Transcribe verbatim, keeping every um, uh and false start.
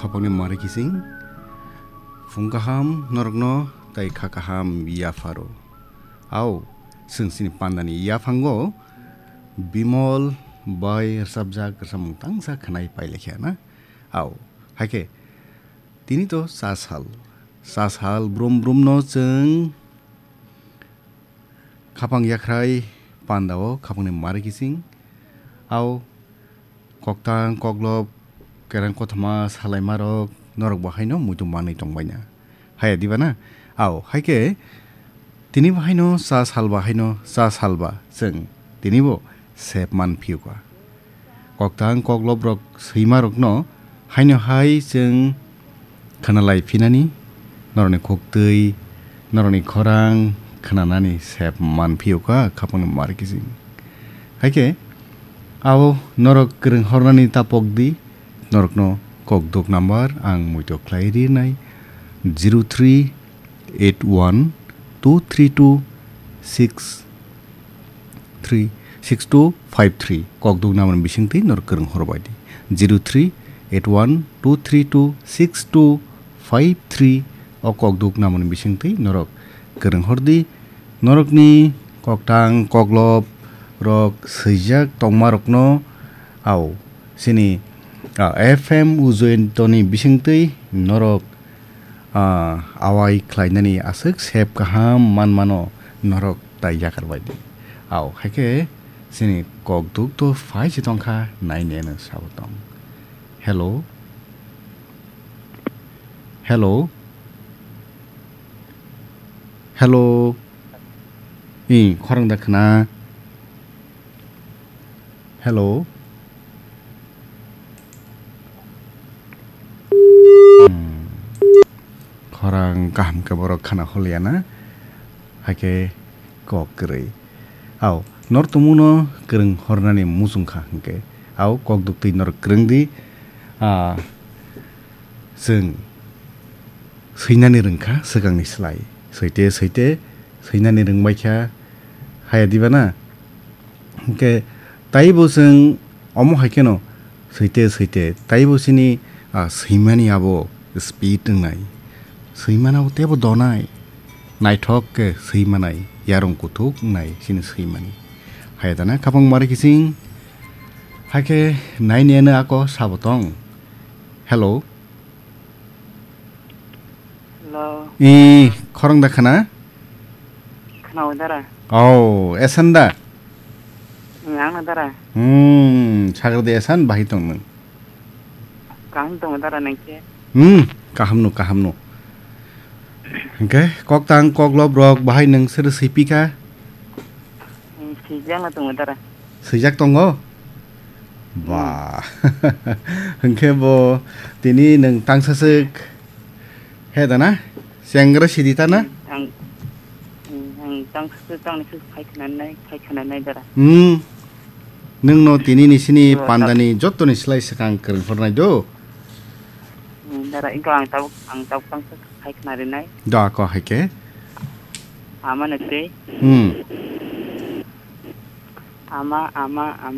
Khapangni mari kising, phung kaham norokno tai kha kaham yapharo. Au, chwng chini pandani yaphango Bimol bai rwchapjak rwchapmung tangsa khwnai pailaikhya na? Au, haikhe tini to cha sal. Cha sal brum brumno chwng khapang yakhrai pandao khapangni mari kising. Au, koktang, koklop, kereng kothoma salaimarok, norok bo haino muitu manwi tongbaina. Haya diba na? Au, haikhe tini bo haino cha salba, haino cha salba, chwng tini bo sep man phiyuka. Koktang, kokloprok swimarokno haino hai chwng khwnalai phinani, norokni khuktwi, norokni khorang khwnanani sep man phiyuka khapangni mari kising. Haikhe, abo norok kwrwng hornani ta pokdi, norokno kokduk number ang muitu khlai rinai, zero three eight one two three two six three six two five three. Kokduk number bisingtwi norok kwrwng horbai di, zero three eight one two three two six two five three. O kokduk number bisingtwi norok kwrwng hordi. Norokni koktang koklop rok swijak tongmarokno au chini, ah, F M Ujjayantoni bisingtwi norok, ah, awai khlainani aswk sep kaham manmano norok tai yakar bai di. Au, haikhe chini kokduk to phai se tongkha, naineno sabo tong. Hello? Hello? Hello? Ih, khorang da khna? Hello? Hmm. Khorang kaham khe borok khana holiya na? Haikhe kok kwrwi. Au, nor tongmungno kwrwng hornani muchung kha hwnkhe. Au, kok duktwi nor kwrwng di. Ah, chwng swinani rwngkha swkangni slai. Swite, swite, swinani rwngbaikha. Haya diba na? Hwnkhe taibo chwng omo hai kheno swite swite taibo chini, ah, swimani abo speed wngnai. Swimani abo teibo donai. Naithok khe swimanai, yarung kuthuk wngnai chini swimani. Hai dana khapang mari kising. Haikhe naineno ako sabo tong. Hello. Hello. Ee, khorang da khana? Khana o dara. Oh, esan da? Ang na dara. Hmm, sagar de esan bahai tong nung. Kaham tong dara nang khe? Hmm, kaham no, kaham no. Hingke kok tang kok lob rok bahai nung sir sipi ka? Hmm, sijak na tong dara. Sijak tongo? Ba. Hingke bo tini nung tangsa sik he dana? Sengra sidi ta na? Ang, ang tangsa sik tang ni sik phai khna nai, phai khna nai dara. Hmm. Nung no tini ni sini pandani joto ni slai sakang kwrwng hor nai do. Hmm, dara, iko ang tabuk, ang tabuk tangsa sik phai khna rinai. Do ako hai ke? Ama na tei. Hmm. Ama, ama, ama.